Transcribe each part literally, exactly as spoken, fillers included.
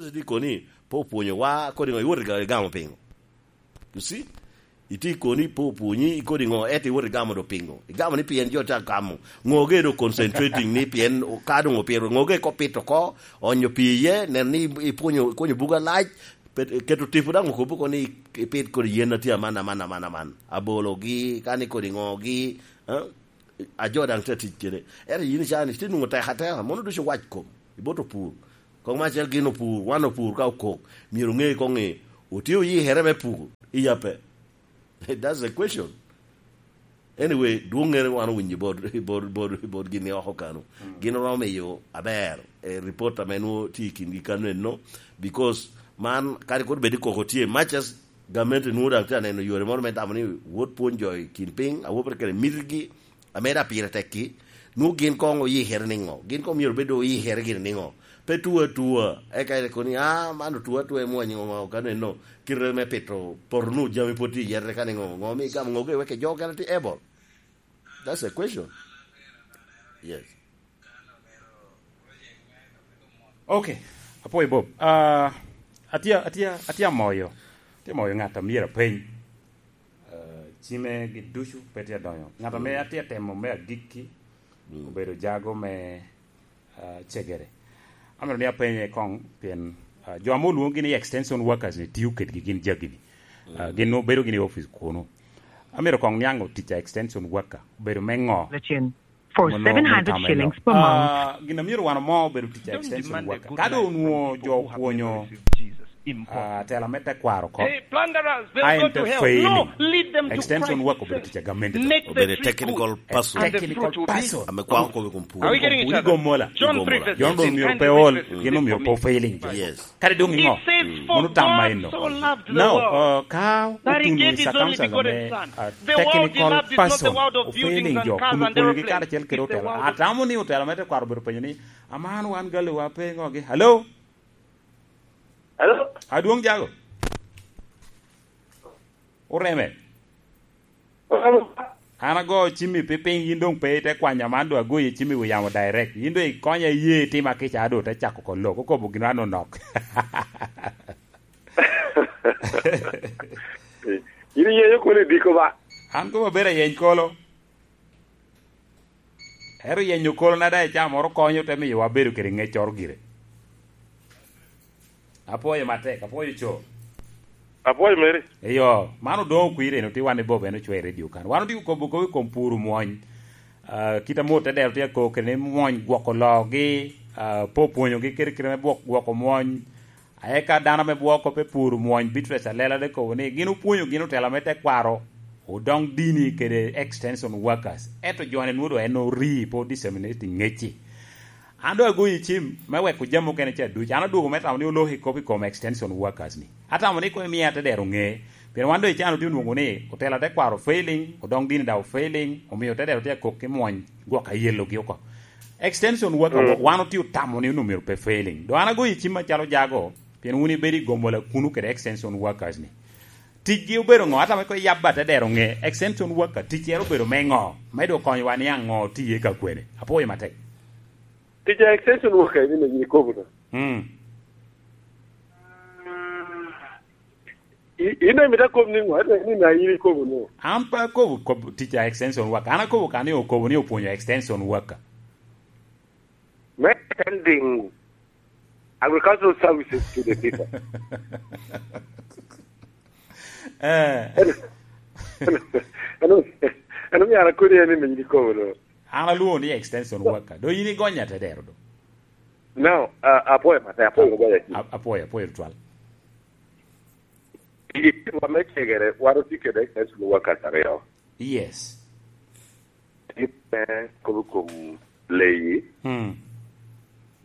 Itye koni pe opwonyo wa kodi ŋo, iwot igamo piŋo? You see? Itye koni pe opwonyi kodi ŋo, ento iwot igamo do piŋo? Igamo ni pien jo tye agamo. Ŋo ge do concentrating ni pien ka doŋ opito, ŋo ge ko pito ko, onyo pi iye, nen ni ipwonyo, ikunyo buga lac, pet-, keto tipo daŋ okobo ko ni ipit kodi yen a tye aman, aman, aman, aman. Abologi, kani kodi ŋogi, eh? A jo daŋ tye atic kede. Ento yin icaa ni, itye nwoŋo tek ateka, mono ducu owac kom, ibot opur. Kong me acel gin opur, wan opur ka okok, myero oŋe koŋ ni otye oyikere me pur, iya pe? That's the question. Anyway, dwoŋŋere wan owinyo bot, bot, bot, bot gin i oko kano. Mm. Gin oromo miyo aber, eh, report ame nwoŋo tye i kingi kano eno, because man, kadi kodi bed ni koko tye, much as gamente nwoŋo daŋ tye aneno yore moro me tamo ni wot pwony jo i kin piny, awobe kede mitigi, ame daŋ pire tekki, nwoŋo gin koŋ oyikere niŋo? Gin koŋ myero bed oyikere gire niŋo? Pe tuo atua, eka ite kono ni, "Ah, man otuo atua, imwonyo ŋo kano eno, kite me pito poto nu jami pwod tye i yete ka niŋo? Ŋo mi igamo ŋo ge wek jo okene tye able?" That's a question. Yes. Ok, apwoyo Bob. Ah, atye, atye, atye amoyo, atye amoyo ŋat a myero apeny. Ah, cime gi ducu pe tye adonyo. Ŋat ame atye atemo me agikki obedo jago me, ah, cegere. Amito ni apenye koŋ pien, ah, jo ame olwoŋogi ni extension workers ni tio kedgi gin jagi-ni. Ah, gin nwoŋo bedo gin i opic kunu. Amito koŋ niaŋ tic a extension worker obedo me ŋo? Lacen. For seven hundred shillings per month. Ah, gin a myero wan omo obedo tic a extension worker. Ka doŋ onwoŋo jo opwonyo, ah, tela me tekwaro oko, a en te failing, extension worker obedo tic a gamente. Obedo technical person. Technical person. Ame kwako kome i kom pur. Wun igomo mola. Jon doŋ myero pe ol, gin doŋ myero pe failing jo. Yes. Kadi doŋ iŋo? Mono tam ma eno. Now, uh, ka otun i circumstance ame, uh, technical person ofailing jo kun opwonyogi karacel kede otela, atamo ni otela me tekwaro obedo penyo ni, "Aman wan galiwa pe ŋogi." Hello? Hello? Adwoŋ jago. Oreme. An ago cimmi pi piny, yin doŋ pe ite kwanya man, doŋ agoyi cimmi wi yamo direct. Yin doŋ ikonya iye itima kica, doŋ te cako ko lok, okobo gin an onok. Yin iyenyo kolo i diko ba? An kobo abedo ayeny kolo. Ero yenyo kolo na daŋ i caa moro konyo te miyo wabedo kede ŋeccoro gire. Apwoyo matek, apwoyo co. Apwoyo meri. Eyo, man odoŋo kwir eno tye wan i Bob en ocwe i redio kan. Wan otye okobo kop i kom puro mwony. Ah, kit ame otedero tye akoko kede ni mwony gwoko loogi, ah, pe opwonyogi kede kite me bwok-, gwoko mwony. Aye ka dano ame bwoko pe puro mwony, Beatrice Alela te kobo ni gin opwonyo gin otela me tekwaro, odoŋ dini kede extension workers. Ento jone nwodo en ori pe disseminating ŋecci. An doŋ agoyi cim me weko jami mukene ca duc. An adwogo me tamo ni olok i kop i kom extension workers ni. Atamo ni koŋ imiya te dero ŋe. Pien wan doŋ i can otye onwoŋo ni otela tekwaro failing, odoŋ dini daŋ ofailing, omio te dero tye akok ki mwony gwok ayelogi oko. Extension worker, mm, wan otye otamo ni onwoŋo myero pe failing. Doŋ an agoyi cim acalo jago, pien wun ibedo i gomola kunu kede extension workers ni. Ticgi obedo ŋo? Atamo ni koŋ iyab atedero ŋe, extension worker, ticcere obedo me ŋo? Me doŋ konyowa ni aŋo tye ka kwene? Apwoyo matek. Tic a extension worker ni me yin ikobo no. Mm. I-, in daŋ imito akob ni ŋo? Ento ni na in ikobo no. An pe akobo kob-, tic a extension worker. An akobo ka ni okobo ni opwonyo extension worker. Me sending agricultural services to the people. Eh. Ano, ano, ano, myero akodi en ni miny gikobo no. An alwongo ni extension worker. Do yin igonya te dero do. No, uh, apwoyo mate, apwoyo gogonya ki. A-, apwoyo, apwoyo tutwal. I wa me cegere, wan otye kede extension workers aryo. Yes. Tye me kobo kom leyi. Mm.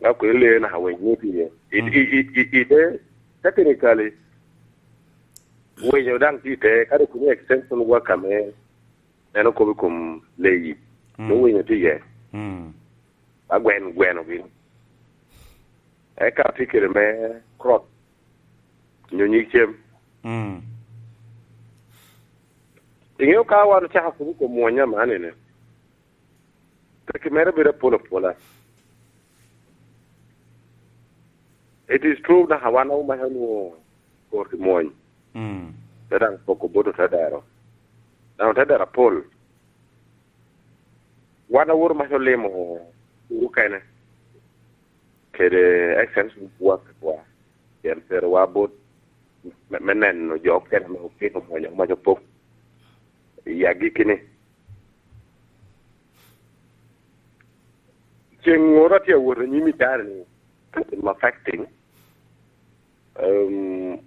Nga kwe leyo naka winy ni tye. I, mm, i, i, i, i te, technically, winyo daŋ tye te, kadi kuni extension worker me en okobo i kom leyi. Mm. Nwoŋo winyo tye iye. Mm. Agwen gweno gin. Eka tye kede me crop. Nyo nyig cem. Mm. Iŋeo ka wan ocako kubo kom mwonya man ene. Peki mere bedo apol apola. It is true, naka wan omaca onwoŋo kor i mwony. Mm. Te daŋ poko bot otedero. Daŋ otedero apol. Wan awot omaca olimo kuru kene. Kede extension wa kekwa. Pien perowa bot me, me neno jo okene ame opito mwony omaca pok. I agikki ni. Ceŋ ŋoro atye awot anyim i cari ni, in affecting, um,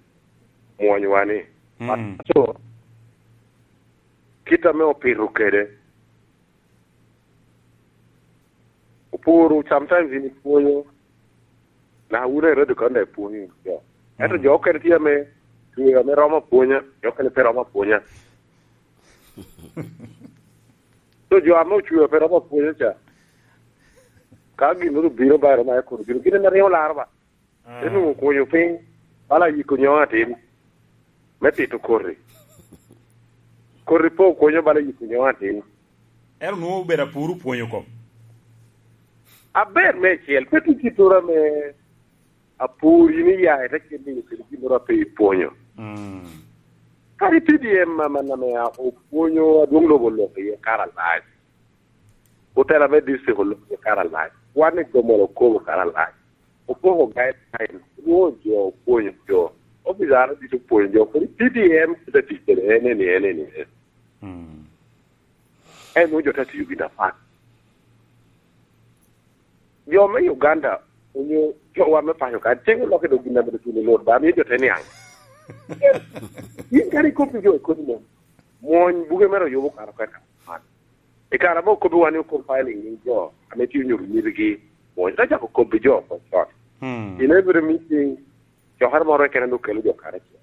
mwonywa ni. Mm. So, kit ame opito kede, oporo, sometimes in ipwonyo, naka wun a radio kan daŋ ipwonyo jo. Ento, mm, jo okene tye ame, dwe ame romo apwonya, jo okene pe romo apwonya. So, jo ame ocweo pe romo apwonya ca, ka gin obino ba romo aye kono gin, gin ame riŋo laro ba. Ah. Te nwoŋo okunyo piny, bala yiko nyo atin, me tito koti. Koti pe okunyo bala yiko nyo atin. Ento nwoŋo obedo apur opwonyo kom. Aber meicel, pe tye kit ame apur in iya, ite kit ni kede gin moro a pe ipwonyo. Mm. Kadi P D M amanna ame a-, opwonyo adwoŋ lobo oloko iye kare alac. Otela me district oloko iye kare alac. Wan i Gomola okobo kare alac. Opoko guideline, rwo jo, opwonyo jo. Officer ducu opwonyo jo, kodi P D M kite tic kede en eni, en eni, en. Mm. En nwoŋo jo te tiyo gin apat. Jo me Uganda onyo jowa me paco kan, ceŋ oloko dok gin ame dok tuno lot, ba miyo jo te niaŋ. Yin kadi ikop i jo i kodi mom, mwony buge mere oyubo kara kwena. I kare ame okobbi wan ni okom filing ni jo ame tye onyo nyirigi, mwony te cako kobbi jo oko con. Hmm. In every meeting, cokere moro keken ame okelo jo karacel.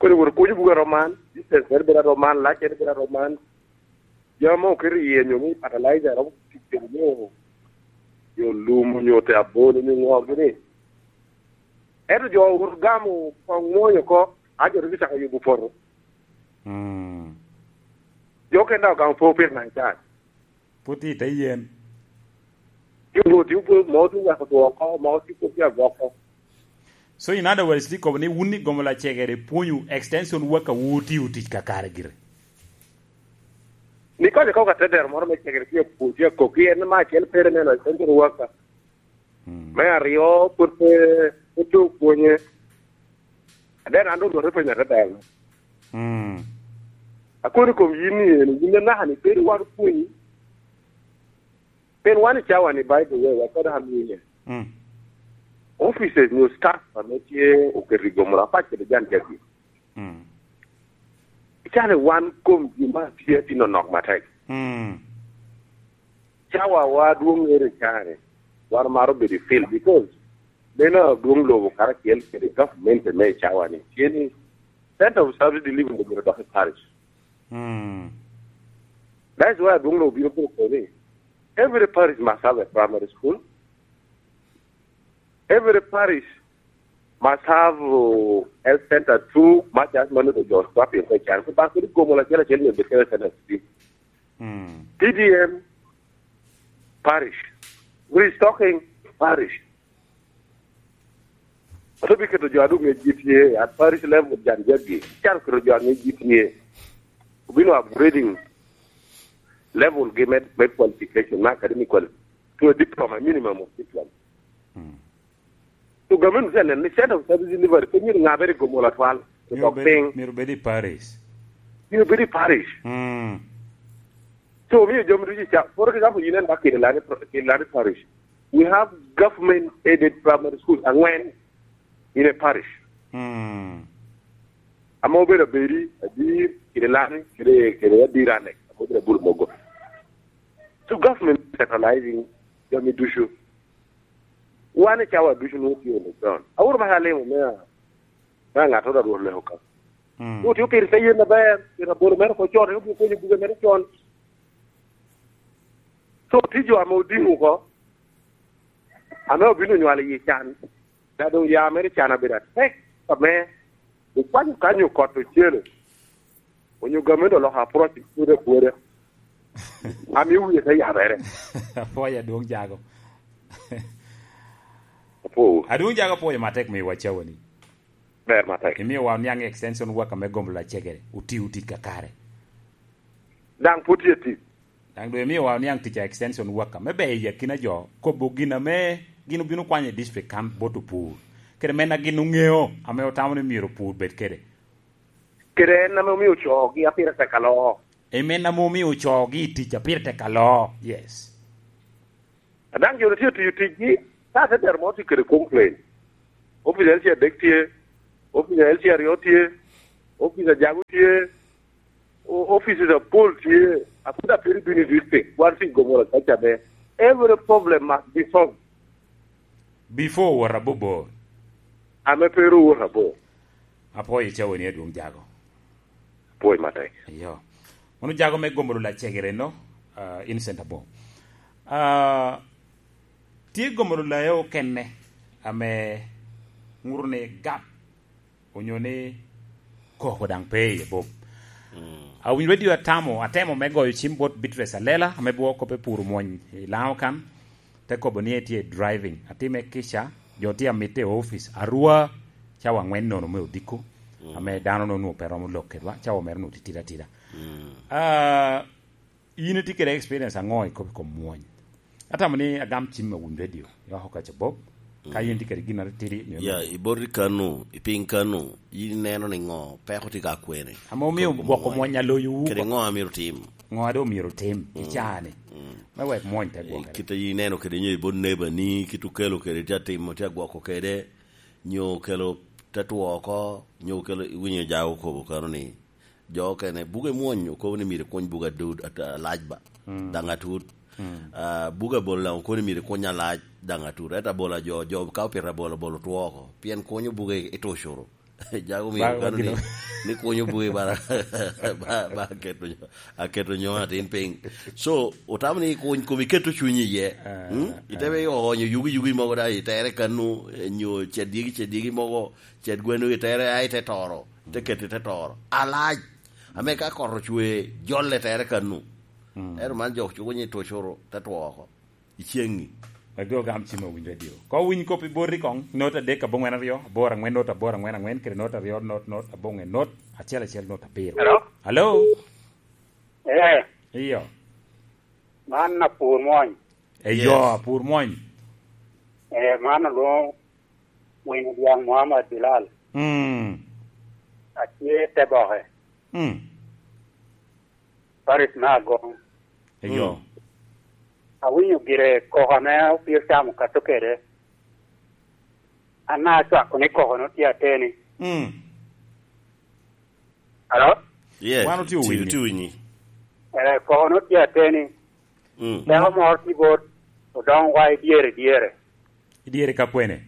Kodi wot okunyo buga roman, distance mere bedo aroman, lac mere bedo aroman. Jami ma oketo iye nyo ni fertilizer romo tic kede nyo, nyo lum, nyo te abolo, nyo ŋo gini. Ento jo owoto gamo koŋ mwony oko, a jo dok cako yubo poto. Mm. Jo okene daŋ ogamo po pire naŋ can. Pwod tye i te yen. Onwoŋo tye obolo, moko tye oweko two oko, moko tye pwod tye agwoko. So in other words, tye kobo ni wun i Gomola cegere pwonyo extension worker wu tiyo tic kakare gire. Ni konyo ka watedero moro me cegere tye apwony, tye akok, en me acel pere neno extension worker. Mm. Me aryo, pwod pe, pwod pe opwonye. Then an doŋ rwot openyo atetel. Mm. Akono i kom yin ni eni, yin anaka ni bedo wan opwonyi. Pien wan i cawa ni, by the way, wakada hamine. Mm. Offices nyo staff ame tye oketo i Gomola apac kede jan jagi. Mm. Icale wan kom ji ma tye atye nonok matek. Mm. Cawa wa dwoŋ ŋere i caa-ni, wan maro bedo i field because meno adwoŋ lobo karacel kede government me i cawa-ni. Tye ni center of service delivery myero dok i parish. Mm. That is why adwoŋ lobo bino koko ni every parish must have a primary school. Every parish must have, uh, health center too, much as mano to jo swapping ko chan. Ko ba ko Gomola acel acel nyo health center three. Mm. P D M parish. Restocking parish. Ato bi keto jo adwoŋ ŋec G T A at parish level jan jagi. Can keto jo aŋec G T A. Obino upgrading level gi med, med qualification, ma academic quali-, to a diploma, minimum of diploma. Mm. So government must neno ni center of service delivery pe myero ŋabere i Gomola twal. Myero dok bed, piny. Myero bed i parish. Myero bed i parish. Mm. So, omiyo jami ducu ca, for example, yin en ba Kirilani, Kirilani parish. We have government aided primary schools aŋwen in a parish. Mm. Ame obedo Abedi, Adir, Kirilani, kede, kede Adir Annex, ame obedo Abul Mogo. So government centralizing jami ducu. Wan i cawa ducu nwoŋo tye on the ground. Awuro maka alimo me a, me aŋattoro a Rwot leko ka. Mm. Rwot otio pire te yen aber, pien abolo mere oko con, en obino pwonyo buge mere con. So, tye jo ame odiŋo oko, ame obino onywalo i can, da doŋ ya mere can abedo atek, ame okwanyo kanyo kot ocele, onyo gamente oloko approach pwode apwoda. Amio wie te yabere. Apwoyo adwoŋ jago. Oh. Adwoŋ jaga pwoyo matek miwa cawani. Ber matek. Imiowa oniaŋ extension worker me gomo lacegere, oti oti kakare. Daŋ pwod tye tic. Daŋ doŋ imiowa oniaŋ tic a extension worker, me beyo i akina jo, kobo gin ame gin obino kwanyo i district kan bot opur. Kede men a gin oŋeo, ame otamo ni myero opur bed kede. Kede en ame omio coogi a pire tek aloo. Amen, ame omio coogi i tic a pire tek aloo. Yes. A daŋ jo tye tiyo ticgi, ka te dero mo tye kede complain. Office L C adek tye, office L C aryo tye, office ajago tye, o-, offices apol tye, a pwod apiri bino i district, wan tye i Gomora kaca be. Every problem must be solved. Before owot abobor. Ame pe ru owot abor. Apwoyo cawoni adwoŋ jago. Apwoyo matek. Iyo. Mano jago me gomo lula cegere no, ah, Innocent Abo. Ah, tye gomo lula e okene ame ŋuto ni gap onyo ni koko daŋ pe i Bob. Mm. Awinyo radio atamo, atemo me goyo cim bot Beatrice Alela, ame bwoko kop i pur omwony i Laŋo kan, te kobo ni etye i driving. Atime kica, jo tye amitte i office. Arua, cawa angwen nono me odiko, mm, ame dano nono pe romo lok kedwa, cawa mere onwoŋo titidi atida. Mm. Ah, in itye kede experience aŋo i kop i kom mwony? Atamo ni agam cim me wun radio, i oko kaca Bob. Ka, mm, in tye kede gin atitidi, nyo ya, mene? I bot i kano, i piny kano, in ineno ni ŋo peko tye ka kwene? Ame omio kop gwoko mwony aloyo wu kede oko. Ŋo amito tim? Ŋo a doŋ myero tim i, mm, caa-ni? Mm. Me wek mwony te, eh, gwokere. Kit a in ineno kede nyo i bot nebani, kit okelo kede tye atimo, tye agwoko kede, nyo okelo te two oko, nyo okelo, iwinyo jago kobo kano ni, jo okene, buge mwony okobo ni myero kuny buge adud, at-, alac ba, mm, daŋ atut. Mm. Ah, buge abola daŋ okobo ni myero kuny alac, daŋ atut. Ento abola jo, jo ka opito abola, abola otwo oko. Pien kunyo buge i tucuru. Jago myero ba, kano ni, ni kunyo buge bara, ba, ba aketo nyo-, aketo nyo atin piny. So, otamo ni kuny kom iketo cunyi iye. Ah, hmm? Ite, ah, be oonyo yugi, yugi mogo da, itere kanu, eh, nyo cedyegi, cedyegi mogo, ced gweno itere, ai te toro. Te keto i te toro. Alac. Ame ka kot ocwe, jolle tere kanu. Mm. Ento man jo cuko nyi tucuru, te two oko. I ceŋŋi. Ego gam cim owinjo adio. Ka owiny kop i boti koŋ, not adek aboŋwen aryo, aboro aŋwen, not aboro aŋwen aŋwen, kede not aryo, not, not aboŋwen, not acel acel, not abiro. Hello? Hello? Eh. Iyo. Man apur mwony. Eyo, yes, apur mwony. Eh, man olwoŋo Winy Odyaŋ Muhammad Bilal. Mm. Atye te boke. Mm. Paris me Agong. Eyo. Mm. Awinyo gire koko ame opir tam okato kede. An acwako ni koko no tye ateni. Mm. Alo? Yes, wan otye ti-, winyi. Otye winyi. Eh, koko no tye ateni. Mm. Dako moro tye bot Odongwa i dyere, dyere. I dyere ka kwene?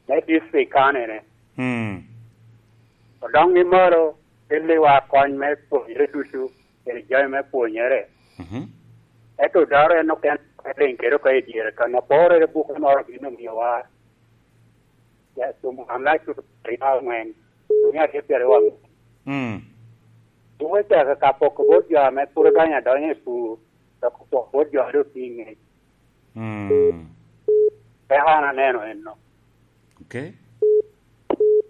Me district kanene. Mm. Odongo i malo, kelliwa kony me pwonyere ducu, kede jami me pwonyere. Mhm. Ento daro en oken riŋ kede oko i dyere kan, aporere buke moro gin omiowa. Ya, tum wan lac tutu aryo aŋwen, mia aryo pyeraryo aŋwen. Mm. Buke caka ka poko bot jo ame pwod odonyo adonya i pur, dok opoko bot jo a doŋ tye i ŋec. Mm. Peko an aneno enno. Okay.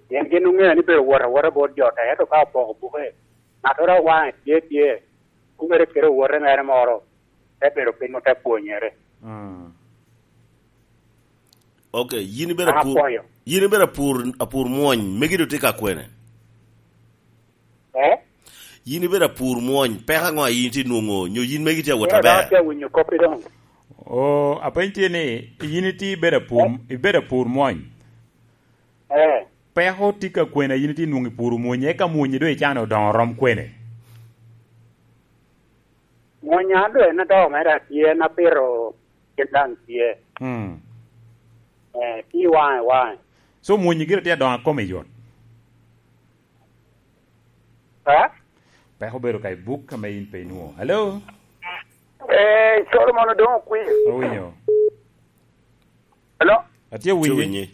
Pien gin oŋeo ni bedo wot awota bot jo tek, ento ka opoko buke, ŋattoro a waŋe tye tye, kumere kede owote mere moro, te bedo piny ote pwonyere. Mm. Okay, yin ibedo apur, apwoyo. Yin ibedo apur, apur mwony, megi doŋ tye ka kwene? Eh? Yin ibedo apur mwony, peko aŋo a yin itye nwoŋo, nyo yin megi tye awot aber? Ero dok atye awinyo koppi doŋ. O, apeny tye ni, yin itye ibedo apur, eh? Ibedo apur mwony. Eh. Peko tye ka kwene a yin itye nwoŋo i pur mwonyi, eka mwonyi doŋ icano odoŋo rom kwene? Mwony an doŋ en adoko mere atye, en apito gin daŋ tye. Mm. Eh, tye i waŋe, waŋe. So, mwonyi gire tye adoŋo akome yot? Eh? Peko obedo ka i buk ame in pe inwoŋo. Hello? Eh, Solomon Odongo Kwir. Owinyo. Hello? Atye winyi. Atye winyi.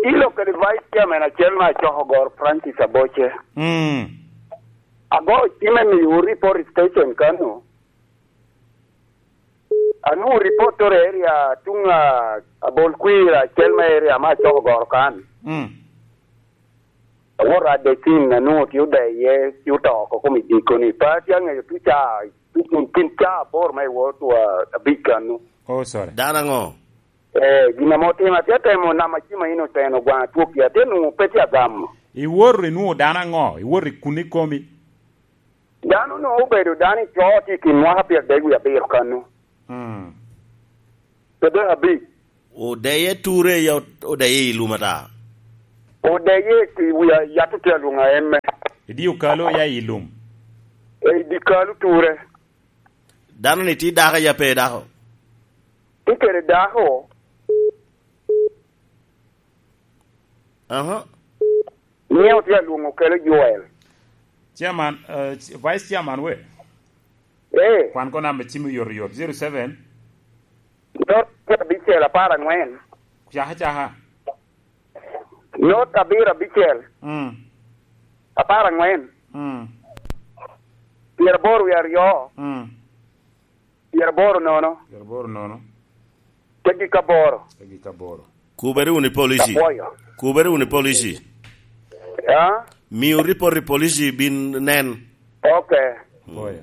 Ilo kede Vice Chairman acel me Acokogor, Francis Aboce. Mm. Ago cime miyo report station kano. Anwoŋo report to area tuŋ, ah, Pol kwir acel me area me Acoko Goro kan. Mm. Awoto Adekin, anwoŋo tye odeye, ci oto oko kom i dikoni. Pe atye aŋeyo tuca, tuca kin ca aboro me iwot wa abic kannu. Oh, sorry. Dano aŋo? Eh, gin ame otimo, atye atemo namo acima in oteno gwaŋ atwokki, atye nwoŋo pe tye agamo. Iwoto inwoŋo dano aŋo? Iwoto i kun ikomi? Dano onwoŋo obedo dano i co tye i kin mwaka pyerdek wie abiro kannu. Mm. Pyerdek abic. Odeye ture ya ot-, odeye i lum ata? Odeye i wi a-, yat otye alwoŋo a emme. Idi okalo ya i lum? E, idi kalo ture. Dano-ni tye dako ya pe dako? Tye kede dako. Aha. Nyiŋe otye alwoŋo kelo Joel. Chairman, eh, Vice Chairman we? Eh. Kwan ko namba cim oyotoyot, zero seven. Not abicel apar aŋwen. Caka, caka. Not abiro abicel. Mm. Apar aŋwen. Mm. Pyeraboro wie aryo. Mm. Pyeraboro nono. Pyeraboro nono. Teggi ka boro. Teggi ka boro. Kubere wunu i polici. Apwoyo. Kubere wunu i polici. Ya? Miu ripot i polici bin nen. Ok. Apwoyo.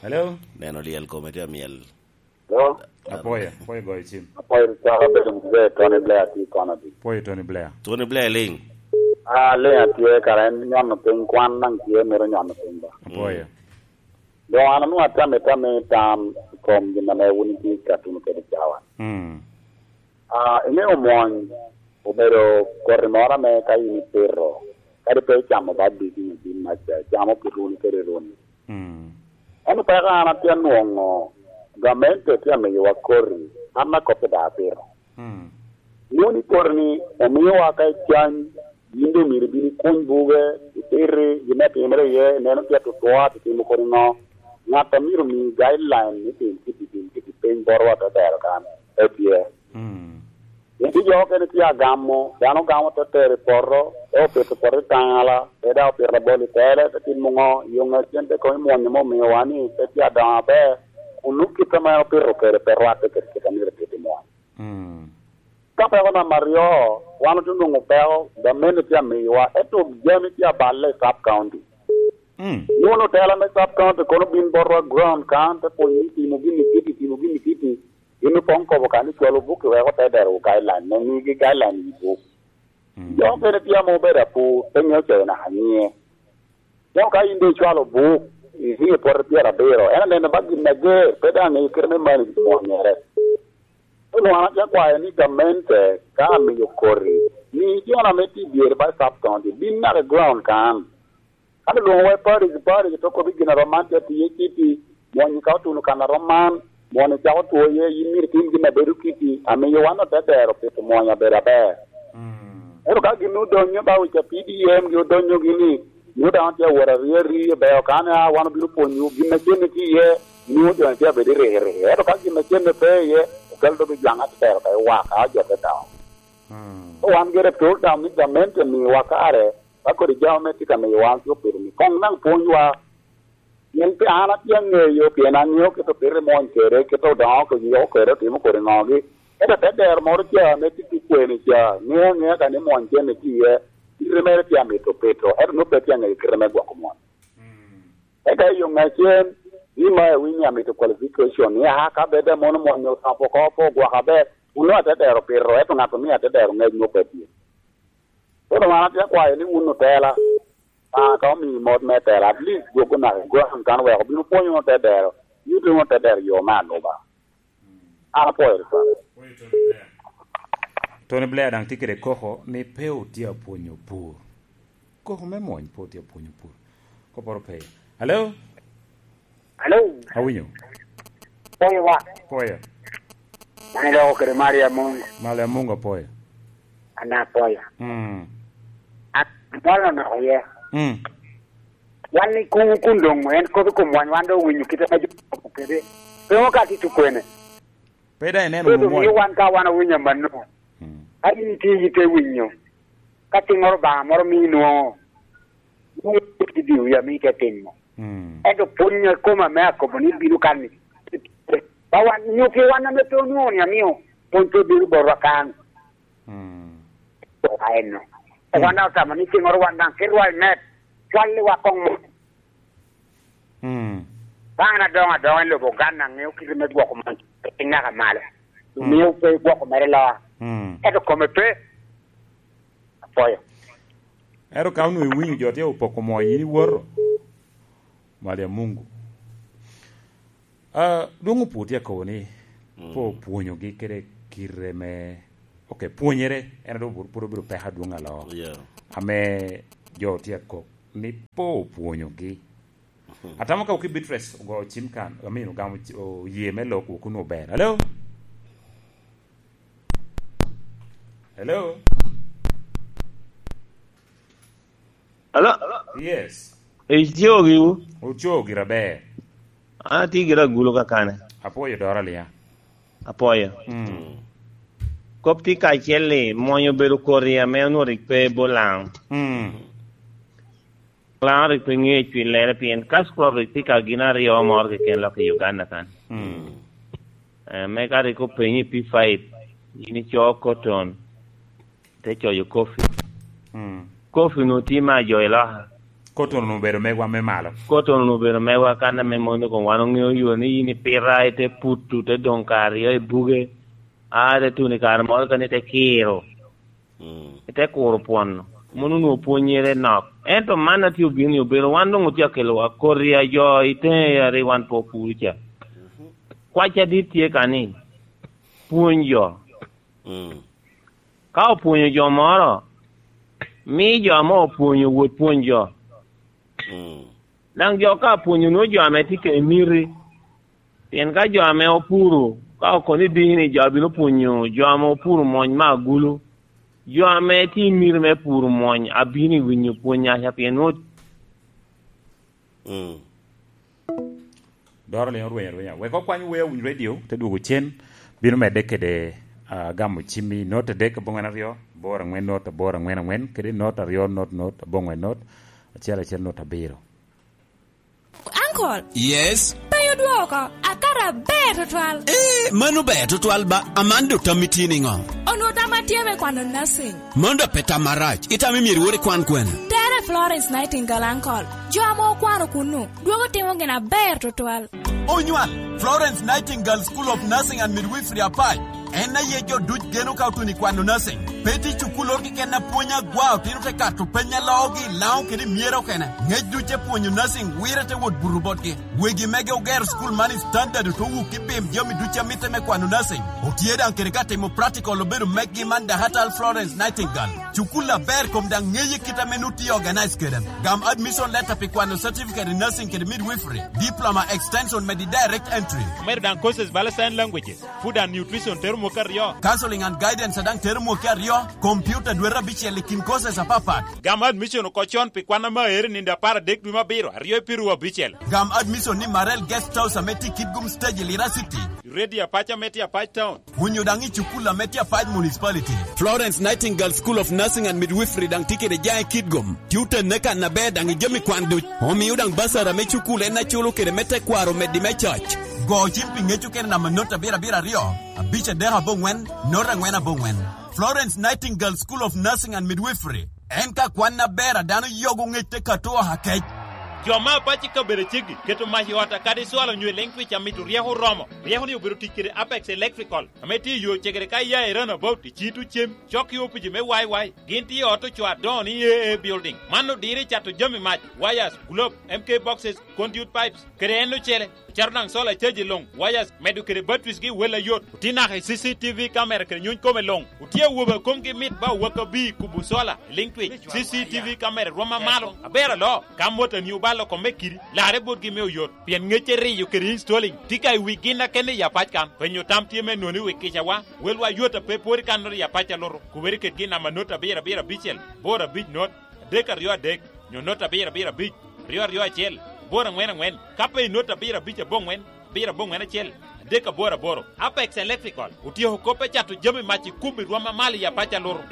Hello? Neno lyel kome tye amyel. Hello? Apwoyo. Apwoyo goyo cim. Apwoyo caka bedo muzee Tony Blair tye kono di. Apwoyo Tony Blair. Tony Blair liŋ. Ah, liŋ atye kara en nyono piny kwan naŋ tye mito nyono piny ba. Apwoyo. Doŋ an onwoŋo atamo itamo i tam i kom gin ame wun itye ka tuno kede cawa. Mm. Ah, iŋeo mwony obedo koti moro ame ka in ipito, kadi pe icamo ba diki i bin mac, icamo pi runi kede runi. Mm. Ento peko an atye anwoŋo gamente tye amiyowa koti, an akop daŋ apito. Mm. Nwoŋo ni koti-ni omiowa ka icany, yin doŋ myero ibin ikuny buge, ititi gin me timere iye, ineno tye atutwot, itimo kodi ŋo. Ŋat a myero omi guideline ni tim kiti, tim kiti piny botwa te tero kan, pe tye. Mm. Pien tye jo okene tye agamo, dano gamo te tero i poto, te opito poto i taŋala, pe daŋ opito labol i tele, te timo ŋo, yo ŋec cente koŋ imwonyo me omiwa ni pe tye adongo aber, kun nwoŋo kit ame opito kede pe rwatte kede kit a myero etit i mwony. Mm. Ka peko namba aryo, wan otye onwoŋo peko, gamente tye amiyowa, ento jami tye aballe i sub county. Mm. Wun otela me sub county kono bin botwa ground kan, te pwonyo ni timo gini kiti, timo gini kiti. Gin opoŋ kobo kan ni cwalo buk i weko te dero guideline, me migi guideline i buk. Mm. Jo okene tye ame obedo apur, pe ŋeo coyo naka nyiŋe. Dok ka in doŋ icwalo buk, iriŋo i poto pyerabiro, en aneno ba gin ager, pe daŋ ŋeyo kite me manage mwonyere. Onwoŋo an atye akwayo ni gamente ka amiyo koti, mi jo ame tye i dyere ba i sub county, bin naka i ground kan. Ka olwoŋowa i parish, parish to kobbi gin a rom man tye atiye kiti, mwonyi ka otuno kan a rom man, mwonyi cako two iye, yin myero itim gin a bedo kiti, amiyo wan ote dero pito mwonyo abedo aber. Mm. Ento ka gin odonyo ba wic a P D M gi odonyo gini, nwoŋo daŋ tye awot ari ari, beo kan a wan obino pwonyowu, gin a cenne tye iye, nwoŋo jo tye abedo i riki riki. Ento ka gin a cenne pe iye, okelo dogi jwaŋ atero ka i waka, a jo te dongo. Mm. So wan gire pol daŋ ni gamente miwa kare, ka kodi jami me tye ka miyo wan tye opido ni koŋ daŋ pwonywa. Pien pe an atye aŋeyo, pien aŋeo kit opito i mwony kede, kit odoŋo kede, otimo kodi ŋogi. Ento te dero moro ca ame tye ki kwene ca, ŋeo aŋea ka ni mwony cen itye iye, kite mere tye amito pito, ento nwoŋo pe tye aŋeyo kite me gwoko mwony. Eka i yo ŋecen, ni ma iwinyo amito qualification, ni a ka bed a mono mwony osapo oko pe ogwoko aber, onwoŋo ate dero pito, ento ŋat omio ate dero ŋec nwoŋo pe tye. Kono wan atye akwayo ni wun otela, Obaŋa ka omiyi mot me tela, at least dwoggo naka i ground kan wek obin opwony wunu te dero, ni otye wunu te dero yo me aluba. An apwoyo Lubanga. Tony Blair daŋ tye kede koko ni pe otye apwonyo pur. Koko me mwony pe otye apwonyo pur. Kopporo pe. Hello? Hello? Awinyo. Pwoyo wa. Pwoyo. An iloko kede Maria Mungu. Maria Mungu apwoyo. An apwoyo. Mm. An, an nok iye. Mm. Wan i kuŋ kun doŋ en kop i kom wany, wan doŋ owinyo kite ma jo okobo kede. Pe ŋo ka tye tukwene? Pe daŋ ineno Pe wunu doŋ mwony. Miyo wan ka wan owinyo amanno. Mm. Ka in itye ite winyo, ka tiŋŋoro Obaŋa moro mii nwoŋo, nwoŋo i diwi ame ite timo. Mm. Ento pwony a koma me akobo ni bino kan ni, ba wan, nyo pi wan ame pe onwoŋo ni amio pwony pe bino botwa kan. Mm. Wa eno. Mm. Wan daŋ otamo ni cengoro wan daŋ kit rwal me twalli wa koŋ mo. Mm. Ka an adoŋo adoŋo i lobo Uganda, aŋeo kite me gwoko mon piny naka malo. Mm. Omio pe gwoko mere loa. Mm. Ento kome pe. Apwoyo. Ento ka onwoŋo iwinyo jo tye opoko moo, yin iwoto. Mali a Mungu. Ah, dwoŋ opwod tye akobo ni, mm, pe opwonyogi kede kite me, ok, pwonyere, en dok pwod obedo peko adwoŋ aloo. Yeah. Ame jo tye akok ni pe opwonyogi. Mhm. Atamo ka Oki Beatrice ogo cim kan, I mean, ogamo ci-, oye me lok wok onwoŋo ber. Hello? Hello? Hello? Yes. Ico giwu? Oco gira ber. An atye gira agulu kakane. Apwoyo doro aliŋa. Apwoyo. Mm. Kop tye kacel ni, mwony obedo kodi ame onwoŋo rik pe bot Laŋo. Mm. Laŋo rik pe ŋeyo cwillere, pien cash crop rik tye ka gin aryo moro keken lok i Uganda kan. Mm. Eh, me ka rik openyi i P five, yin ico cotton, te coyo coffee. Mm. Coffee onwoŋo tye me ajo i loka. Cotton onwoŋo obedo megwa me malo. Cotton onwoŋo obedo megwa kan ame mono kom wan oŋeo yo ni yin ipita, ite putu, te doŋ kare aryo i buge, a, te tuno i kare moro kene ite kiro. Mm. Ite kuro pwon-nu. Mono onwoŋo pwonnyere nok. Ento man a tye obino ni obedo, wan doŋ otye akelowa kodi a jo i teŋe a rik wan pe opuro ca. Mhm. Kwac adit tye ka ni, pwony jo. Mm. Ka opwonyo jo moro, mi jo ame opwonyo wot pwony jo. Mm. Daŋ jo ka opwonyo nwoŋo jo ame tye kede miti. Pien ka jo ame opuro, ka okono idiki ni jo bino pwonyo jo ame opuro mony me agulu, jo ame tye i miti me puro mony abino i winyo pwony aca, pien nwoŋo Mm. Doro liŋ orweny arwenya. Wek okwany wer Awiny Radio, te dwogo cen, bino medde kede, ah, gamo cimmi, not adek aboŋwen aryo, aboro aŋwen not, aboro aŋwen aŋwen, kede not aryo not not, aboŋwen not, acel acel not abiro. Uncle. Yes? Pe odwoko, akato aber tutwal. Eh, mano ber tutwal ba, Amanda otammi tye niŋo? Onwoŋo tam atye me kwano nursing. Mano dok pe tam marac. Itamo myero iwot ikwan kwene? Tere Florence Nightingale, uncle. Jo ame okwano kunnu, dwogo timo gin aber tutwal. Onywal, Florence Nightingale School of Nursing and Midwifery Apac. En aye jo duc geno ka otuno i kwano nursing. Pe tye cukulloro keken a pwony agwa, otino te kato peny a loogi i Laŋo kede i Myero okene. Ngec duc te pwonyo nursing wire te wot buto botgi. Wegi mege ogero cukul man i standard, ote wuk i pim jami duc a mitte me kwano nursing. Otye daŋ kede ka timo practical obedo meggi man Dahatal Florence Nightingale. Cukul aber kom daŋ ŋeye kit ame nut tye organize kede. Gam admission letter pi kwano certificate in nursing kede midwifery, diploma extension medi direct entry. Omedo daŋ courses bala sign languages, food and nutrition tero mwaka aryo. Counseling and guidance daŋ tero mwaka aryo, computer dwete abicel i kin courses apapat. Gam admission oko con pi kwan ame aero i nino apar adek dwe me abiro, aryo i piru abicel. Gam admission ni Marel Guest House ame tye i Kitgum Stage i Lira City. Ready Apac ame tye Apac Town. Onyo daŋ i cukul ame tye Apac Municipality. Florence Nightingale School of Nursing and Midwifery daŋ tye kede jaŋ i Kitgum. Tye otenne kan aber daŋ i jami kwan duc. Omio daŋ basara me cukul en aculo kede me tekwaro omeddi me coc. Go cim pi ŋec okene namba not abiro abiro aryo, abic adek aboŋwen, not aŋwen aboŋwen. Florence Nightingale School of Nursing and Midwifery. En ka kwan aber a dano yogo ŋec te kato oha kec. Jo me Apac i kabedo aceggi keto mac i ot a kadi cwalo nyo i leŋ twic a mito ryeko oromo. Ryeko ni obedo tic kede Apex Electrical, ame tye i yo cegere ka iya i Runabout, i Cito Cem, cok i opici me Y Y. Gin tye i ot ocoo adoŋo ni A A Building. Man odiro i cato jami mac, wires, globe, M K boxes, conduit pipes, kede en ocele. Ocito daŋ solar charge luŋ, wires, medo kede batteries gi wel ayot. Otye naka i C C T V camera kede nyuny kome luŋ. Otye awobe a komgi mit ba owaka bi kubo solar, liŋ twic. C C T V camera rwom amalo. Aber aloo, ka motani obalo kome kidi, larre botgi me oyot. Pien ŋecce riyo kede installing tye ka i wi gin a kene i Apac kan. Penyo tam tye me noni wi kicawa. Welwa yot a pe pwod i kannoro i Apac a luto. Kubere kedgi i namba not abiro abiro abicel, boro abic not, adek aryo adek, nyo not abiro abiro abic, ryo aryo acel, boro aŋwen aŋwen, ka pe i not abiro abic aboŋwen, abiro aboŋwen acel, adek aboro aboro. Apex Electrical otyeko kop me cato jami mac i kum i rwom amalo i Apac a luto.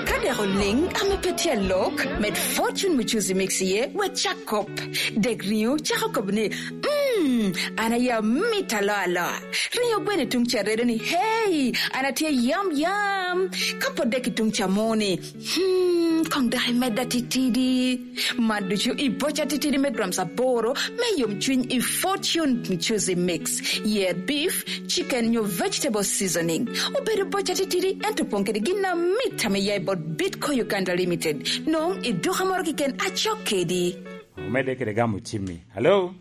Ka dek oliŋ ame pe tye alok, med Fortune Muchuzi Mix iye, wek cak kop. Dek riŋo cako kop ni, "Mm." Hmm, an aye amit aloa aloa. Rinyo gweno i tuŋ ca redo ni, "Hey, an atye yam yam." Ka pot dek i tuŋ ca mo ni, "Hmm, koŋ dok imedda titidi." Man ducu i boca titidi me grams aboro me yomcwiny i Fortune Juicy Mix. Yer beef, chicken nyo vegetable seasoning. Obedo boca titidi, ento opoŋ kede gin amit ame ya i bot Bitco Uganda Limited. Nwoŋo i duka moro keken acok kedi. Omedde kede gamo cimmi. Hello?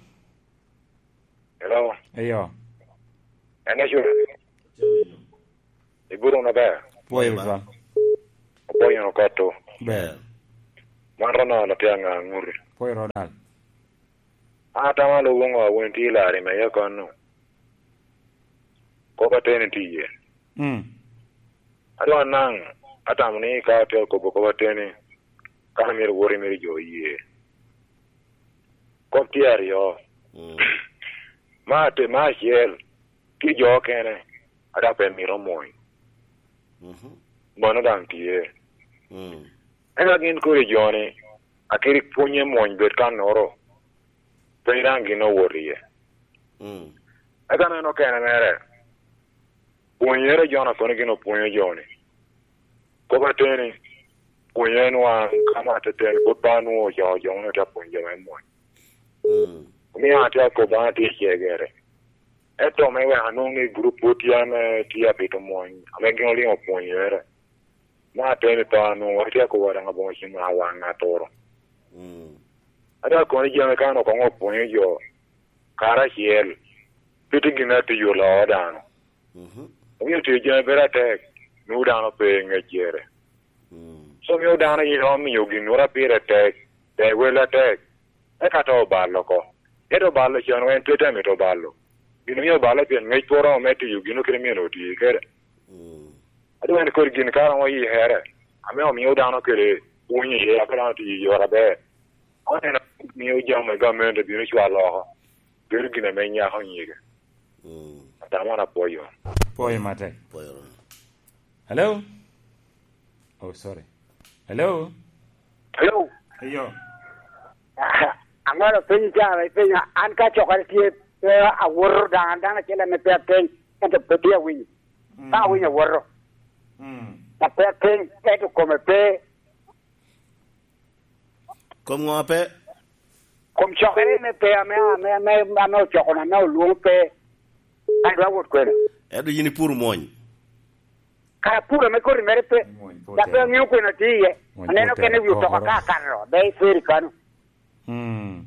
Hello. Eyo. En Ecura. Iburo wunu aber? Pwoyo Rwot. Opwoyo wunu kotto. Ber. Man Ronald atye aŋa aŋuti. Pwoyo Ronald. An atamo alo woŋo awen tye i lari me ye kono. Kop ateni tye iye. Mm. Adwa naŋ atamo ni ka atye akobo kop ateni, ka myero woti myero jo oye. Kop tye aryo. Mm. Ma te-, ma acel, tye jo okene, a dok pe mito omwony. Mhm. Mano daŋ tye. Mm. Eka gin kodi jo-ni, akiri pwonye mwony bed kannoro, pe daŋ gin owot iye. Mm. Eka en okene mere, pwonyere jo-na kono gin opwonyo jo-ni. Kop ateni, pwonyo en wan, ka ma ateten, pwod pe anwoŋo ocoo jo moni te apwony jo me mwony. Mm. Omio atye akobo, an atye i cegere. Ento me wek anwoŋ ni gurup pwod tye ame tye abito mwony, ame gin oliŋo pwonyere. Me ateni pe anwoŋo, atye akobo daŋ aboŋo cim a waŋ aturo. Mm. Atye akobo ni jami ka an okoŋo opwonyo jo karacel, pe tye gin atic oloo dano. Mhm. Omio tiyo jami bedo atek, nwoŋo dano pe i ŋeccere. Mm. So mio dano yie omiyo gin nwoŋo pire tek, tek wel atek, eka to obalo oko. Ento balo can en pe te mito balo. Gin omio balo pien ŋec pwod oromo me tiyo gin okene myero oti kede. Mm. Adwar ni kodi gin ka romo yikere, ame omio dano kede pwony iye, aka dano tiyo i yore aber. Oneno mio jami me gamente bino cwalo oko. Bedo gin ame nyako nyige. Mm. Atamo na pwoyo. Pwoyo matek. Pwoyo. Hello? Oh, sorry. Hello? Hello? Eyo. Aŋolo piny ca, ipenya, an ka cokere tye, pe awoto daŋ, an dano acel ame pe apeny, ento pe tye awinyo. Mm. Ka awinyo awoto. Mm. Pe apeny, ento kome pe. Kom ŋo pe? Kom cokere me pe ame, ame, ame, ame ocokona, ame olwoŋo pe. An dwa wot kwene. Ento yin ipuro mwony. Kara puro ame koti mere pe. Mwony po tek. Dok pe aŋeo kwene atye iye. Mwony po tek. Aneno kene wi otoka ka akato, be i feri kano. Mm.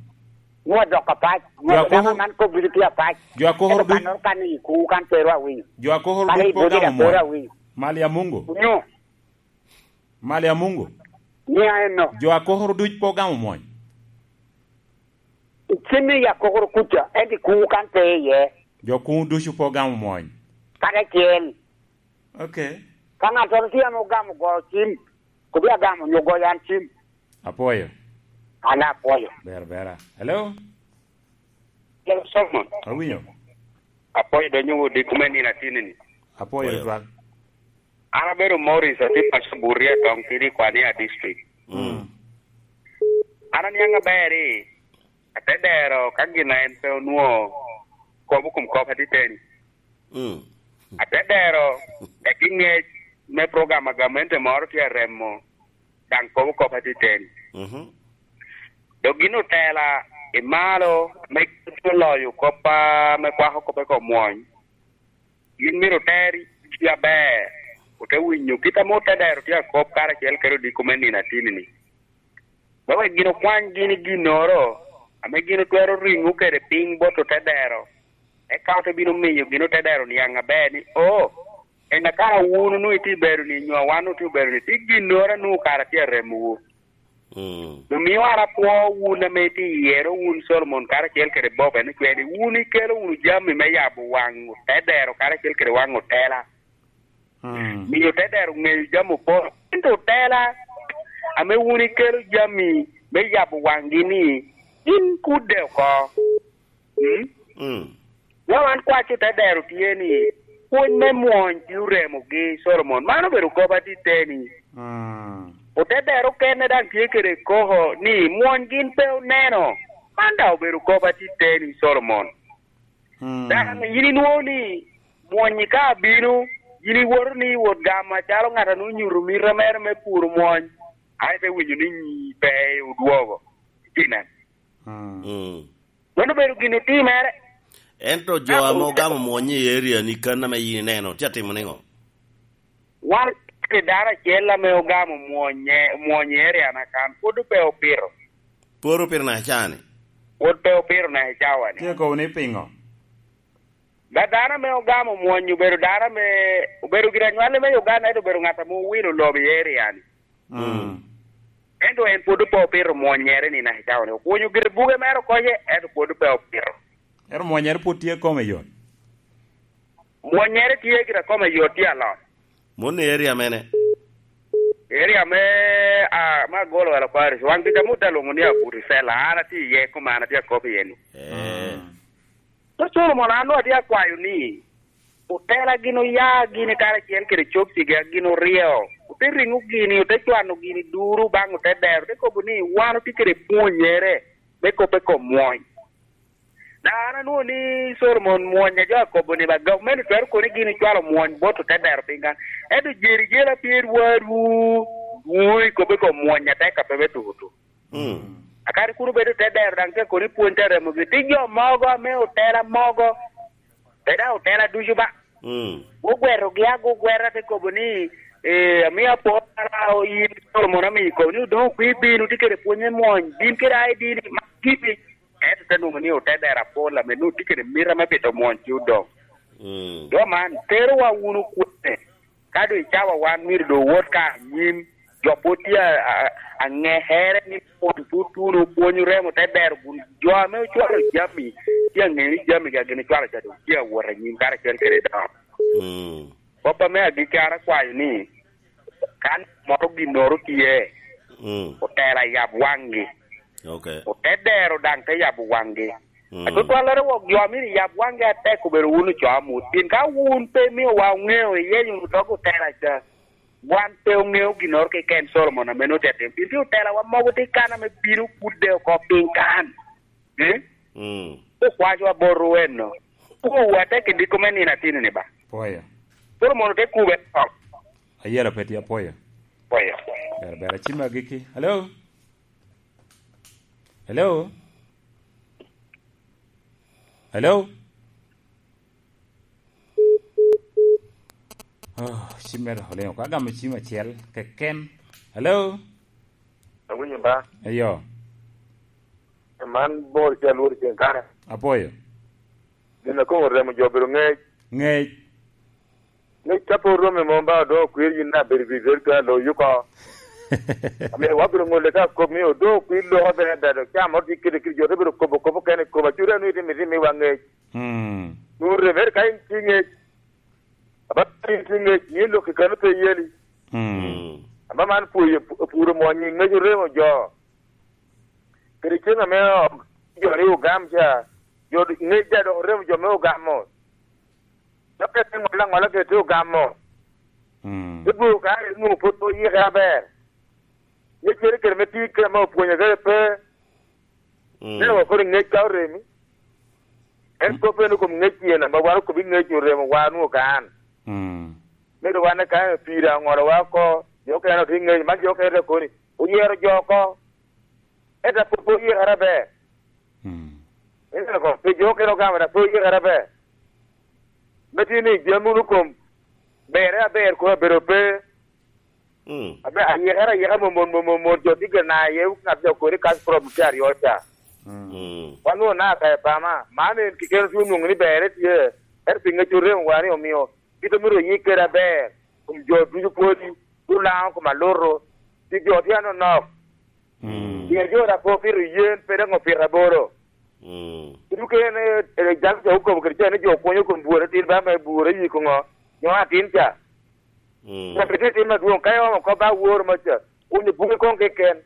Nwoŋo adoko apac. Nwoŋo dama man kop ducu tye apac. Jo akoko ducu. Ento kannoro kan i kuwu kan pe ru awinyo. Jo akoko ducu po gamo mwony. Kan i bodi da pe ru awinyo. Mali a Mungu. Onyo. Mali a Mungu. Ni a enno. Jo akoko ducu po gamo mwony. Cim i akokoro kuca, ento i kuwu kan pe iye. Jo kuwu ducu po gamo mwony. Kadi acel. Ok. Ka ŋattoro tye ame ogamo goyo cim, kodi agamo nyo goyo an cim. Apwoyo. An apwoyo. Ber, bera. Hello? Hello, Solomon. Awinyo. Apwoyo donyo wodi kuma nino atini ni. Apwoyo. Apwoyo. Twal. An abedo Morris, atye paco Buria, Toŋ Kidi, Kwania District. Mm. An aniaŋ aber i, ate dero ka gin a en pe onwoŋo kobo kom kop atiteni. Mm. Ate dero, egi ŋec me program a gamente moro tye aremo, daŋ kobo kop atiteni. Mhm. Dok gin otela i malo me loyo kop a, me kwako kop i kom mwony. Gin myero oter ci aber, ote winyo kit ame ote dero tye akop karacel kede odiko me nino atini-ni. Me wek gin okwany gin i ginnoro ame gin otwero riŋo kede piny bot ote dero, eka ote bino miyo gin ote dero niaŋ aber ni, "O, en a kara wun onwoŋo itye i bedo-ni, nyo wan otye i bedo-ni, tye ginnoro a nwoŋo kara tye aremowu." Mm. Omio an apwoo wun ame itye i yero, wun Solomon karacel kede Bob, en ocwe ni wun ikelo wunu jami me yabo waŋ otedero karacel kede waŋ otela. Mm. Miyo otedero ŋeyo jami oporo. Ento otela ame wun ikelo jami me yabo waŋgi-ni, gin kudde oko. Mm? Mm. Wa wan kwac otedero tye ni, pwony me mwony tye oremogi, Solomon. Man obedo kop atiteni. Mm. Otedero okene daŋ tye kede koko ni mwony gin pe oneno. Man daŋ obedo kop atiteni, Solomon. Mm. Dano, yin inwoŋo ni mwony ka abino, yin iwoto ni wot gamo acalo ŋat a nwoŋo nyuto mita mere me puro mwony, a ite winyo ni nyi pe odwogo. Itye nen. Mm. Mm. Mano obedo gin otimere. Ento jo ame ogamo mwony i area ni kan ame yin ineno, tye atimo niŋo? Wan kede dano acel ame ogamo mwonye, mwony i area na kan, pwod pe opito. Pwod opito naka cani? Pwod pe opito naka cawa ni. Tye kobo ni piŋo? Ba dano ame ogamo mwony obedo dano ame, obedo gin anywale me Uganda, ento obedo ŋat ame owilo lobo i area ni. Mm. Ento en pwod pe opito mwonyere ni naka cawa ni. Okunyo gire buge mere okoce, ento pwod pe opito. Ento mwonyere pwod tye kome yot? Mwonyere tye gire kome yot, tye alot. Mon i area mene? Area me, ah, me Agolo Wala Parish. Wan kica mut alwoŋo ni Abuti Sela. An atye iye, kuma an atye akop iye ni. Eh. Mm. Te Solomon, an onwoŋo atye akwayo ni, otela gin oya gini karacel kede cokcigi a gin oryo, ote riŋo gini, ote cwano gini duru baŋ ote dero, ote kobo ni, wan otye kede pwonyere me kop i kom mwony. Daŋ an anwoŋo ni Solomon mwony a jo akobo ni ba gavumenti twero kono gini cwalo mwony bot ote dero piny kan. Ento jeri jela pye dwarwu, dwu i kop i kom mwony atek a pe me tuko tuko. Mm. Akadi kun obedo te dero daŋ te kono i pwony te remogi. Tye jo mogo ame otela mogo, pe daŋ otela ducu ba. Mm. Ogwerogi ago gwera te kobo ni, eh, amio apor ara oyin Solomon ame ikobo ni odoŋ okwi bino tye kede pwony me mwony, bin kede I D ni, ma gibi. Ento te nwoŋo ni ote dero apol ame nwoŋo tye kede mita me bito mwony ci odoŋ. Mm. Jo man, terowa wunu kwene? Ka doŋ icawa wan myero doŋ owot ka anyim, jo pwod tye a, a, aŋekere ni pwony pwod tuno, pwony oremo te dero kun jo ame ocwalo jami, tye aŋeyo ni jami-gi a gin ocwalo ca doŋ tye awot anyim karacel kede dano. Mm. Kop ame agikki an akwayo ni, ka moro ginnoro tye, mm, otela yab waŋgi. Ok. Ote dero daŋ te yabo waŋgi. Mm. Atutwallere wok jo a myero yab waŋgi atek obedo wun ocoo amut. Pien ka wun pe imiowa oŋeo iyenyo wunu dog otela ca, wan pe oŋeo ginnoro keken Solomon ame nwoŋo tye atim. Pien tye otelawa mogo tye kan ame bino pudde oko piny kan. Eh? Mm. Okwacowa bot ruenno. Kuwa tek i diko me nino atino ni ba. Pwoyo. Solomon ote kube oko. Ayelo pe tye apwoyo. Pwoyo. Ber, ber, acim agikki. Hello? Hello? Hello? Oh, cim mere oliŋo. Ka gamo cim acel keken. Hello? Awinyo ba? Eyo. Man bor ca lworo ceng kare. Apwoyo. Gin a koŋo remo jo obedo ŋec. Ŋec. Ŋec ka pe oromo i mom ba, odoŋ okwer yin na bedo pi rer ka loyi oko. Amiyo wabino ŋolle ka kop ni odoŋ okwer loko bene ada, dok ca moro tye kede kede jo te bedo kobo kobo kene i koma, cuto anwi itimo itimo i wa ŋec. Mm. Nwoŋo remere ka in tye ŋec. Aba in tye ŋec, ni lok i kano pe yeli. Mm. Mm. Aba man pwoyo, puro mwony i ŋec oremo jo. Kede cen ame jo ni ogam ca, jo ŋec ja dok oremo jo me ogamo. Dok kede ŋola ŋola kede te ogamo. Mm. Te bwoko ka rik nwoŋo pwod pe oyike aber. Ŋeccere kede me tic kede ame opwonyo kede pe. Mm. Neno wa kodi ŋec ka oremi. En kop en okom ŋec pien ame wan okobi ŋec oremo wa nwoŋo kan. Mm. Medo wan ka pira oŋolo wa oko, jo okene otye ŋec, man jo okene te koni, oyero jo oko. Ento a pwod pe oyikere aber. Mm. Ineno ko, pi jo okene ogamo, ento a pwod oyikere aber. Me tye ni jami wunu kom, berre aber kono abedo pe. Mm. Abe, ayikere ayika mot, mot, mot, mot, mot, jo tye gire na aye, ŋat jo kodi cash problem tye aryo ca. Mm. Mm. Wan nwoŋo naka i pama, man en keken tye onwoŋo ni berre tye, ento pi ŋec orem wa ni omio, kit omito oyik kede aber, kom jo ducu pwodi, Olaŋo kom alutu, pi jo tye anonok. Mm. Pien jo na pe opito yen, pe dok opito aboro. Mm. Kit okene, eh, jal ca okobo kede ca ni jo kwonyo kom bworo atin ba me bworo i koŋo, nyo atin ca. Mm. Ka pe tye tim adwoŋ, ka iomo kop ba woro ma ca, kunyo buke koŋ keken.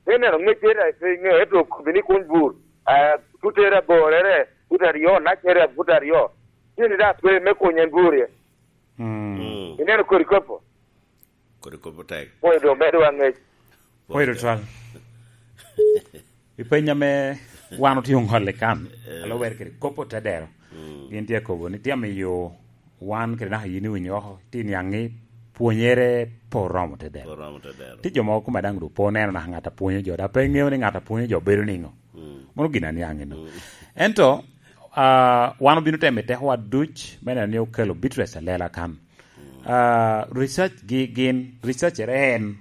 Ineno ŋeccere, pe ŋe, ento okobi ni kuny bur, ah, tutere aborere, fut aryo, nacere, fut aryo. Tye ni da twe me kuny en bur ye. Mm. Mm. Ineno kodi kopo. Kodi kop otek. Pwoyo doŋ medo wa ŋec. Pwoyo tutwal. I peny ame Wan otye oŋolle kan, a lubere kede kop otedero. Gin tye akobo ni tye amiyo wan kede naka yin iwinyo oko, tye niaŋ ni pwonyere pe oromo otedero. Oromo otedero. Tye jo mogo kome daŋ doŋ pe oneno naka ŋat a pwonyo jo, dok pe eŋeo ni ŋat a pwonyo jo bedo niŋo. Mano gin aniaŋ eno. Ento, ah, wan obino temo i tekowa duc me neno ni okelo bitress alela kan. Ah, research gi gin, research en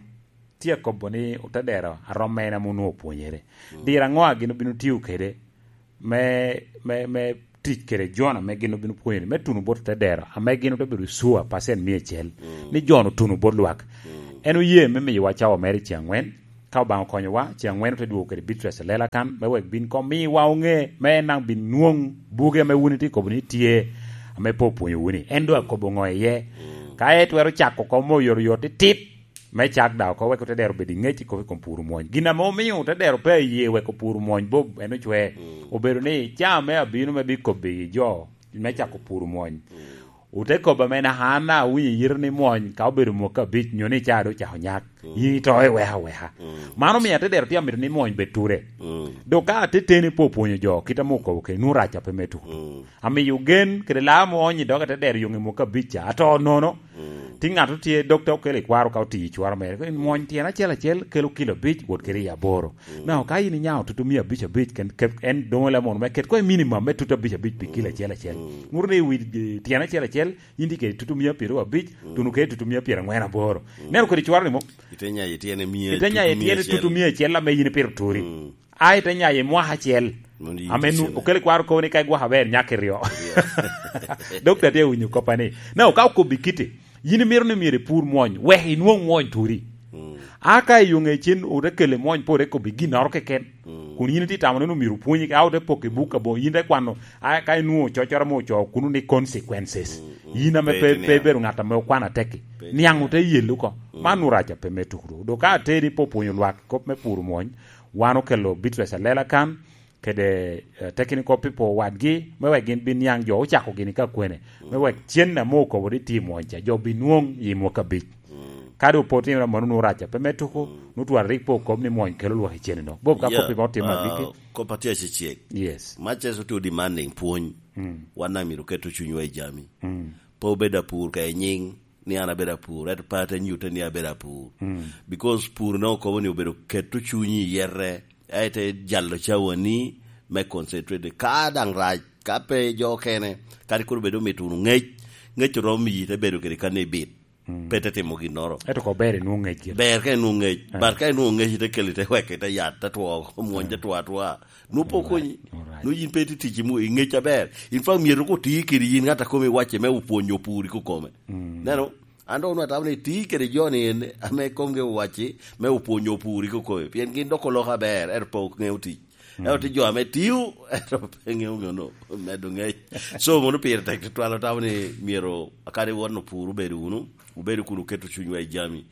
tye akobo ni otedero a romo en ame onwoŋo opwonyere. Diro aŋo a gin obino tiyo kede me, me, me tic kede Jon ame gin obino pwonyere, me tuno bot otedero, ame gin ote bedo sure percent mia acel, ni Jon otuno bot lwak. En oye me miyowa cawa mere i ceŋ aŋwen, ka Obaŋa okonyowa, ceŋ aŋwen ote dwogo kede bitress alela kan, me wek bin koŋ miwa oŋe, me en daŋ bin nwoŋ buge ame wun itye kobo ni tye, ame pe opwonyowu ni. En doŋ akobo ŋo iye? Ka etwero cako oko me oyotoyot titit, me cak daŋ oko, wek otedero obed i ŋec i kop i kom puro mwony. Gin ame omio otedero pe aye wek opuro mwony Bob en ocwe. Obedo ni caa me abino me bikobbi jo me cako puro mwony. Ote kobo ame naka an awinyo yito ni mwony ka obedo mwaka abic, nyo ni caa doŋ ocako nyak. In ito iweka aweka. Mano omio atedero tye amito ni mwony bed ture. Dok ka ateteni pe opwonyo jo, kit ame okobo kede, nwoŋo rac ape me tuko. Amiyo gen kede laa ame oonyo i dog atedero yoŋ i mwaka abic ca, ato nono. Ti ŋat otye, dokta okelo i kwaro ka otiyo i cwaro mere. Koni mwony tyen acel acel kelo kilo abic wot kede i aboro. Now, ka in inyao tutu mia abic abic, ken, ke-, en doŋo le mono me ket ko i minimum me tutu abic abic pi kilo acel acel. Nwoŋo ni i wi, eh, tyen acel acel, in tye kede tutu mia pyeraryo abic, tuno kede tutu mia pyerangwen aboro. Neno kodi cwaro ni mo? Ite nyayo tyene mia, ite nyayo tyene tutu mia acel ame in ipito turi. Ai te nyayo i mwaka acel. Mondo yin ame nu-, okele kwaro kobo ni ka igwoko aber, nyak iryo. Dokta tye winyo koppa ni, na ka okobbi kite, yin imito ni myero ipur mwony, wek inwoŋ mwony turi. A ka i yo ŋecen ote kele mwony, pe ote kobbi ginnoro keken. Kun yin itye tamo ni omyero opwonyi, ka ote poko i buk aboŋo, yin te kwano, a ka inwoŋo cocoro ame ocoo kuno ni consequences. Yin ame pe, pe ibedo ŋat ame okwano ateki. Niaŋ ote yel oko. Man nu rac ape me tuku. Dok ka ateni pe opwonyo lwak kop me puro mwony, wan okelo bitress alela kan, kede, eh, technical people wadgi, me wek gin bin niaŋ jo ocako gini ka kwene, me wek cen ame okobo ni tye i mwony ca, jo bin nwoŋ i mwaka abic. Ka doŋ pe otimere mano, nwoŋo rac ape me tuku, nwoŋo twara rik pe okob ni mwony kelo lwak i cen-ni no. Bob ka koppi ma otim agikki. Kop atye acecek. Yes. Mac Yecu tye demanding pwony. Wan daŋ myero oket cunywa i jami. Pe obed apur ka i nyiŋ, ni an abedo apur, ento pe ate nyutte ni abedo apur. Because pur nongo kobo ni obedo keto cunyi i yete, a ite jalo cawani me concentrate. Ka daŋ rac, ka pe jo okene, kadi kono bed omito wunu ŋec, ŋec oromo miyi ite bedo kede kan ibit. Pe ite timo ginnoro. Ento ko ber inwoŋ ŋec gire. Ber ka inwoŋ ŋec, but ka inwoŋ ŋec ite keli te wek ite yat, te two, omwony te two atwa. Nwoŋo pe okonyi. Alright. Nwoŋo yin pe itye tic i mu-, i ŋec aber. In fact, myero ko ti kede yin ŋat a kome iwacce me opwonyo opur i kokome. Neno, an doŋ onwoŋo atamo ni ti kede jo ni en ame komgi owacci me opwonyo opur i kokome. Pien gin dok oloko aber, ento pe oŋeo tic. Ento tye jo ame tio, ento pe ŋeo ŋeo no, medo ŋec. So, mono pire tek tutwal, otamo ni myero akadi won opur obedo wunu, obedo kun oketo cunywa i jami.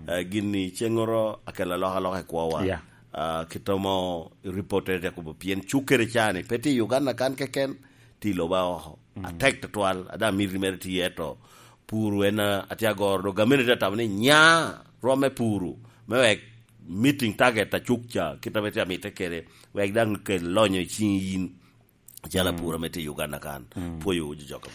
Eh, gin ni ceŋŋoro akelo alokaloka i kwowa. Yeah. Ah, kit amo reported akobo pien cuk kede cani pe tye i Uganda kan keken, tye i loba oko. Atek tutwal, ada miti mere tye eto. Puru en, ah, atye agoro, dok gamente tye atamo ni nya romme puru, me wek meeting target a cuk ca, kit ame tye amite kede, wek daŋ kel lonyo i ciŋ yin, acalo apur ame tye i Uganda kan. Pwoyo wu jo jok.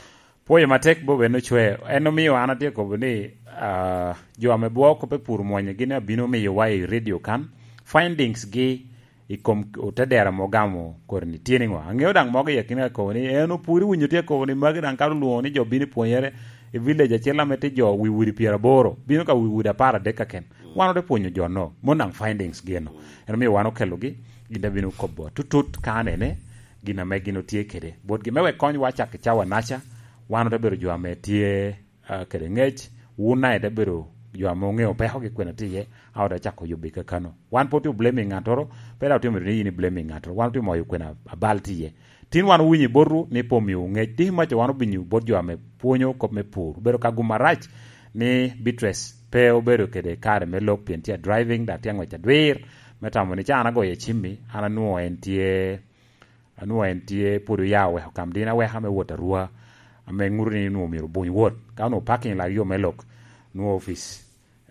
Pwoyo matek Bob en ocwe. En omio an atye kobo ni, ah, jo ame bwoko pe pur mwonyo gin abino miyowa i radio kan findings gi i kom otedera ame ogamo kodi ni tye niŋo. Aŋeo daŋ mogo i akina kobo ni en opur iwinyo tye kobo ni magi daŋ kato lwoŋo ni jo bino i pwonyere i village acel ame tye jo wi udi pyeraboro, bino ka wi udi apar adek kaken. Wan ote pwonyo jo no, mon daŋ findings gi eno. En omio wan okelogi, gin te bino kobo tutut ka anene, gin ame gin otye kede. Botgi me wek konywa cak i cawa naca, wan ote bedo jo ame tye, ah, kede ŋec, wun daŋ ite bedo jo ame oŋeo pekogi kwene tye iye, a ote cako yubbi kakano. Wan pe otye blaming ŋattoro, pe daŋ otye mito ni yin i blaming ŋattoro. Wan otye moyo kwene abal tye iye. Tin wan owinyo i botwu ni pe omiowu ŋec. Tiki maca wan obinyo bot jo ame pwonyo kop me pur. Obedo ka gum arac ni Beatrice pe obedo kede kare me lok pien tye a driving, dok tye aŋwec adwir. Me tamo ni ca an agoyo cimmi, an anwoŋo en tye, anwoŋo en tye pwod oya oweko kam din aweka me wot Arua, ame ŋuto ni nwoŋo myero obuny wot. Ka onwoŋo parking lak yo me lok, nwoŋo opic,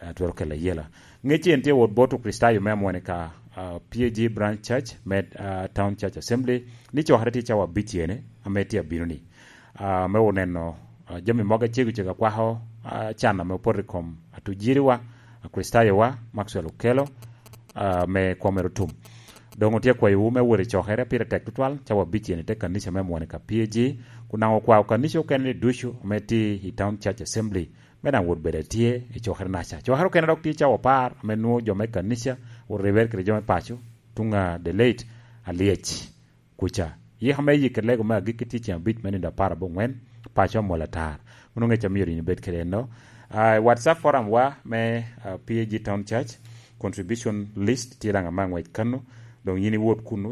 eh, twero kelo ayela. Ŋec en tye wot bot Okricitayo me amwone ka, uh, P A G Branch Church me uh, Town Church Assembly ni cokere tye cawa abicene ame tye abino ni uh, me oneno uh, jami mogo acego cego akwako uh, can ame opoto i kom atujiriwa, Akricitayowa, Maxwell Okelo, uh, me kwomere otum. Doŋ otye akwayowu me wot i cokere pire tek tutwal, cawa abicene te kanica me Mwonika P A G, kun daŋ okwao kanica okene ni ducu ame tye i Town Church Assembly me daŋ wot bedo atye i cokere naca. Cokere okene dok tye cawa apar ame nwoŋo jo me kanica oribere kede jo me paco tuŋ a The Late Alyec kuca. Yika me yik lego me agikki tye ceŋ abic me nino apar aboŋwen, paco amol atar. Mano ŋec amio rinyo bed kede enno. Uh, WhatsApp forum wa me uh, P A G Town Church contribution list tye daŋ ama ngwec kano. Doŋ yin iwot kunu